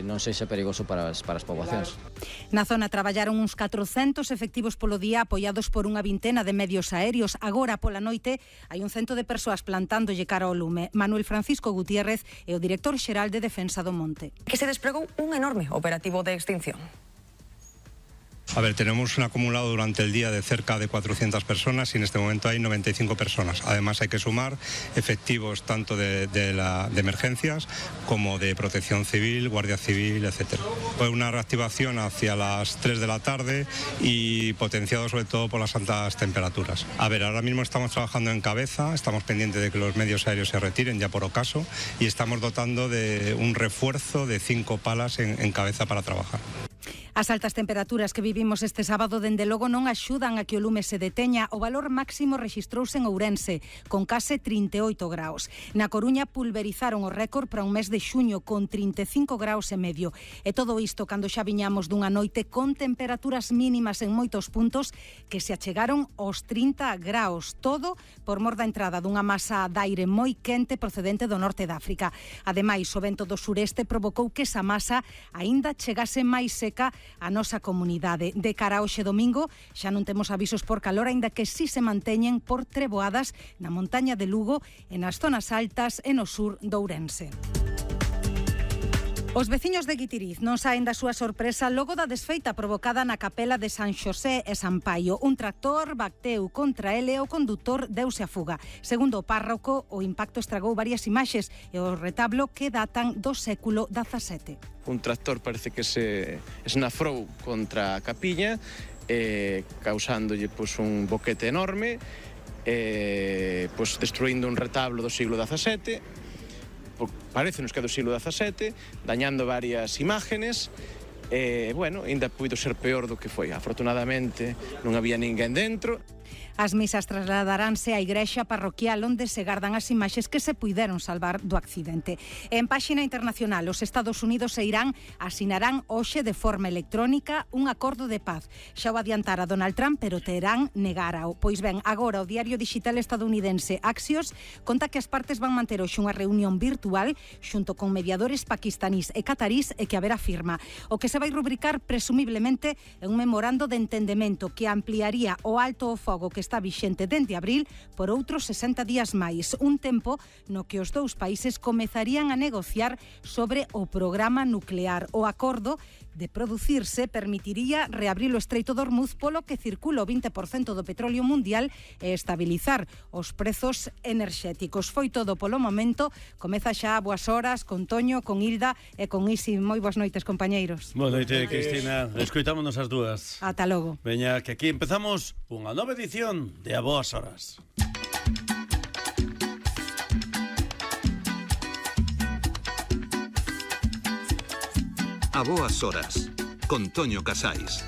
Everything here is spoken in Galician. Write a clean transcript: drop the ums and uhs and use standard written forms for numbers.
non sexa perigoso para as poboacións. Na zona traballaron uns 400 efectivos polo día apoiados por unha vintena de medios aéreos. Agora, pola noite, hai un cento de persoas plantándolle cara ao lume. Manuel Francisco Gutiérrez é o director xeral de Defensa do Monte. Que se desplegou un enorme operativo de extinción. A ver, tenemos un acumulado durante el día de cerca de 400 personas y en este momento hay 95 personas. Además hay que sumar efectivos tanto de emergencias como de protección civil, guardia civil, etc. Fue una reactivación hacia las 3 de la tarde y potenciado sobre todo por las altas temperaturas. A ver, ahora mismo estamos trabajando en cabeza, estamos pendientes de que los medios aéreos se retiren ya por ocaso y estamos dotando de un refuerzo de 5 palas en cabeza para trabajar. As altas temperaturas que vivimos este sábado dende logo non axudan a que o lume se deteña. O valor máximo rexistrouse en Ourense, con case 38 graus. Na Coruña pulverizaron o récord para un mes de xuño con 35 graus e medio. E todo isto cando xa viñamos dunha noite con temperaturas mínimas en moitos puntos que se achegaron aos 30 graus. Todo por mor da entrada dunha masa de aire moi quente procedente do norte de África. Ademais, o vento do sureste provocou que esa masa aínda chegase máis seca a nosa comunidade. De cara a hoxe domingo xa non temos avisos por calor, aínda que si se manteñen por treboadas na montaña de Lugo e nas zonas altas e no sur de Ourense. Os veciños de Guitiriz non saen da súa sorpresa logo da desfeita provocada na capela de San Xosé e San Paio. Un tractor bateu contra ele e o condutor deuse a fuga. Segundo o párroco, o impacto estragou varias imaxes e o retablo que datan do século XVII. Un tractor parece que se esnafrou contra a capiña, causándolle un boquete enorme, destruindo un retablo do siglo XVII, parecenos que é do siglo XVII, dañando varias imágenes, ainda puido ser peor do que foi. Afortunadamente non había ninguén dentro. As misas trasladaránse á igrexa parroquial onde se gardan as imaxes que se puideron salvar do accidente. En páxina internacional, os Estados Unidos e Irán asinarán hoxe de forma electrónica un acordo de paz. Xa o adiantara Donald Trump, pero Teherán negárao. Pois ben, agora o diario digital estadounidense Axios conta que as partes van manter hoxe unha reunión virtual xunto con mediadores paquistanís e catarís e que haberá firma. O que se vai rubricar presumiblemente é un memorando de entendemento que ampliaría o alto o fogo que está vixente dende abril por outros 60 días máis, un tempo no que os dous países comezarían a negociar sobre o programa nuclear. O acordo de producirse permitiría reabrir o Estreito de Hormuz polo que circula o 20% do petróleo mundial e estabilizar os prezos enerxéticos. Foi todo polo momento. Comeza xa boas horas con Toño, con Hilda e con Isi. Moi boas noites, compañeiros. Boa noite, Cristina. Escoitámonos as dúas. Ata logo. Veña, que aquí empezamos unha nova edición de A Boas Horas. A Boas Horas, con Toño Casais.